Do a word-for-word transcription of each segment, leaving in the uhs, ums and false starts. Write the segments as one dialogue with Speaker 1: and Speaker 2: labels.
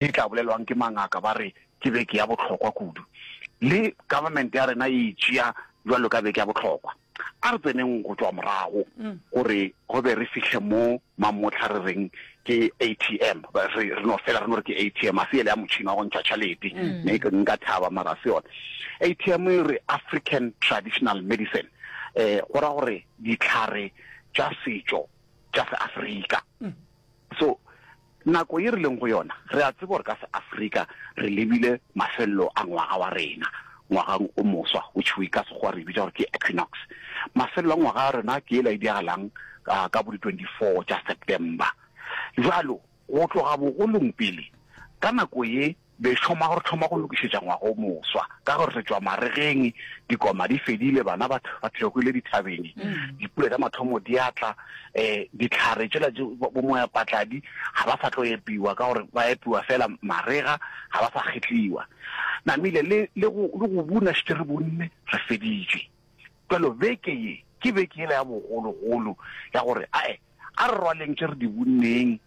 Speaker 1: E tla bolelwang ke mangaka ba re ke beke ya bohlokwa kudu. Le government ya rena e e tšea bjalo ka beke ya bohlokwa. A re tseneng go tšwa morago gore go be re fihle mo mamohla re reng ke A T M. Re, re no fela re no re ke A T M, a se yela ya motšhini wa go ntšha tšhalete. Ne ke nka thaba mara se yona. A T M e re African Traditional Medicine. Eh, go ra gore ditlhare tša setšo tša Seafrika. So nako ye re leng go yona, re a tseba gore ka Seafrika re lebile mafelelo a ngwaga wa rena, ngwagang o moswa, which we ka Sekgowa re bitša gore ke equinox. Mafelelo a ngwaga wa rena ke ela e diagalang ka, ka bo di twenty-four tša September. Jwalo go tloga bogolong pele ka nako ye be thoma gore thoma go lokišetša ngwaga o moswa, ka gore re tšwa maregeng, dikoma di fedile, bana ba ba theogile dithabeng, dipula tša mathomo di atla, um ditlhare tšela bo moya patladi ga ba sa tlo epiwa, ka gore ba epiwa fela marega, ga ba sa kgetliwa namile le le go le go buna šetše re bunne, re feditše. Jalo beke ye ke beke yela ya bogologolo ya gore ae, a re rwaleng tše re di bunneng,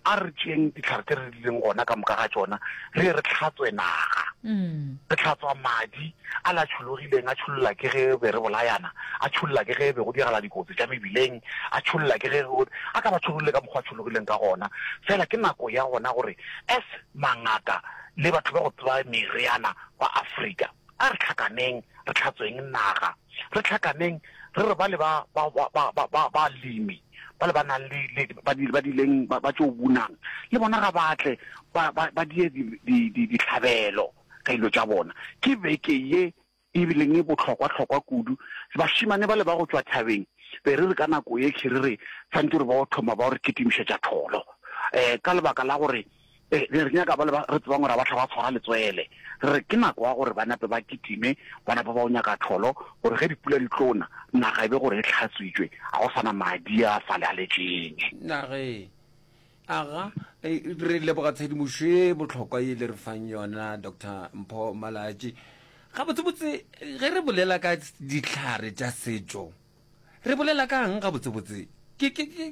Speaker 1: a re tšeeng ditlhare tše re dileng gona ka moka ga tšona, re ye re tlhatswe naga. Re tlhatswa madi a la tšhologileng, a tšholola ke ge be re bolayana, a tšholola ke ge be go diragala dikotsi tša mebileng, a tšholola ke ge a ka ba tšhologile ka mokgwa a tšhologileng ka gona. Fela ke nako ya gona gore as mangaka le batho ba go tseba meriana ba Afrika, a re tlhakaneng, re tlhatsweng naga, re tlhakaneng re re ba le ba ba ba ba ba ba lemi ba le ba nang le le ba di ba dileng ba ba tšo bunang le bona ga batle ba ba ba die di di ditlhabelo ka dilo tša bona. Ke beke ye e bileng e bohlokwa-hlokwa kudu. Bašemane ba le ba go tšwa thabeng be re re ka nako ye ke re re santse re ba o thoma ba re kitimišetša tholo, um ka lebaka la gore eh re nyaka ba le ba re tsebang gore ba tla ba tshwara letswele. Re re ke nako ya gore ba nape ba kitime, ba nape ba o nyaka tholo, gore ge dipula di tlona naga e be gore e tlhatswitswe, ga go sana madi a fale a letšeng.
Speaker 2: Nage aga re leboga tshedimošo e bohlokwa e le re fang yona, Doctor Mpho Malatši. Gabotsebotse ge re bolela ka ditlhare tša setšo, re bolela ka eng gabotsebotse? ke ke ke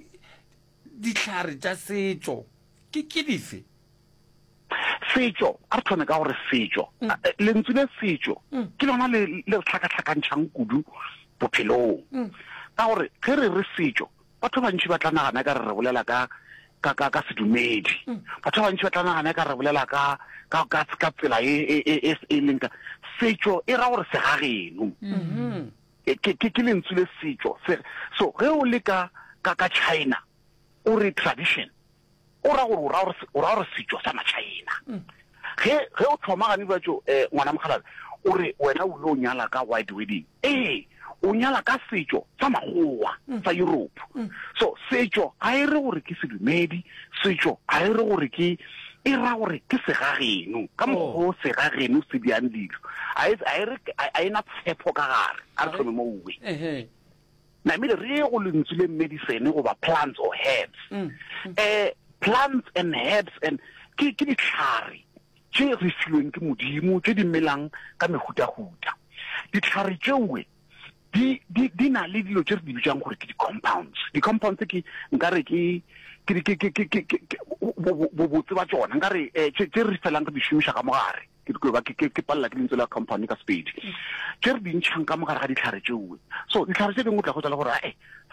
Speaker 2: ditlhare tša setšo ke ke dife?
Speaker 1: Setšo, a re thome ka gore setšo, lentswe le setšo ke lona le le re tlhakatlhakantšhang kudu bophelong, ka gore ge re re setšo, batho ba bantši ba tla nagana ka re re bolela ka ka ka ka sedumedi, batho ba bantši ba tla nagana ka re bolela ka ka ka ka tsela e e e e leng ka setšo. E ra gore segageno, ke ke ke lentswe le setšo. So ge o le ka ka ka China o re tradition, o ra gore o ra gore o ra gore setšo sa ma-China. Ge ge o thoma gane bjatšo, um ngwana mokgalabje, o re wena o ile o nyala ka white wedding, ee, o nyala ka setšo sa makgowa sa Europe. So setšo ga e re gore ke sedumedi, setšo ga e re gore ke, e ra gore ke segageno, ka mokgwa o segageno se diang dilo. A e re a e na tshepo ka gare. A re thome mo uwe namile re ye go lentswe le medicine goba plants or herbs. um plants and herbs and ke ke ditlhare tše re filweng ke Modimo, tše di melang ka mehutahuta. Ditlhare tšeoe di di di na le dilo tše re di bitsang gore ke di-compounds. Di-compounds ke nkare ke ke ke ke ke ke bobotse ba tšona, nkare tše tše re felang re di šomiša ka mogare. Ke ke ba ke ke palela ke lentswe la compound ka Sepedi, tše re di ntšhang ka mogare ga ditlhare tšeoe. So ditlhare tše dingwe o tla go le gore ae,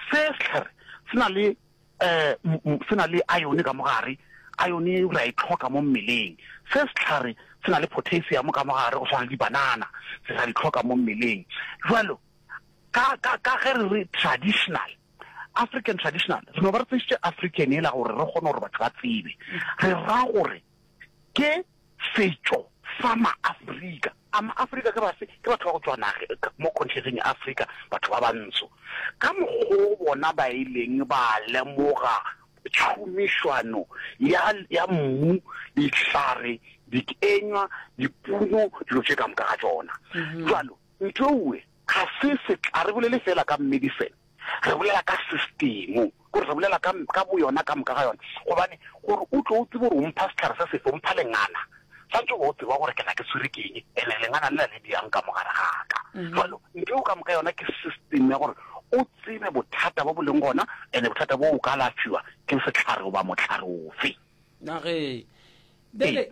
Speaker 1: se setlhare se na le um se na le iron ka mogare, iron re a e tlhoka mo mmeleng. Se setlhare se na le potassium ka mogare, go tshwana le dibanana, se ra di tlhoka mo mmeleng. Jalo ka ka ka ge re re traditional, African traditional, re no ba re tsentšhitše African e la gore re kgone gore batho ba tsebe re ra gore ke setšo sa ma-Afrika. A ma-Afrika ke bafe? Ke batho ba go tswa nage mo continenteng ya Afrika, batho ba bantsho, ka mokgwa bona ba ileng ba lemoga tšhomišwano ya ya mmu, dihlare, dikenywa, dipuno, dilo tše ka moka ga tšona. Jalo ntho ewe ga se se a re bolele fela ka medicine, re bolela ka system, gore re bolela ka ka bo yona ka moka ga yona, gobane gore o tlo o tsebe gore o mpha setlhare se sefe, o mpha lengana, santse o tseba gore ke na ke tshwere keng, ene lengana le la le diang ka mogare ga ka. Jalo ntho eo ka moka yona ke system ya gore o tsebe bothata bo bo leng gona, ene bothata bo o ka alafiwa ke setlhare goba motlhare ofe.
Speaker 2: Nage Bjale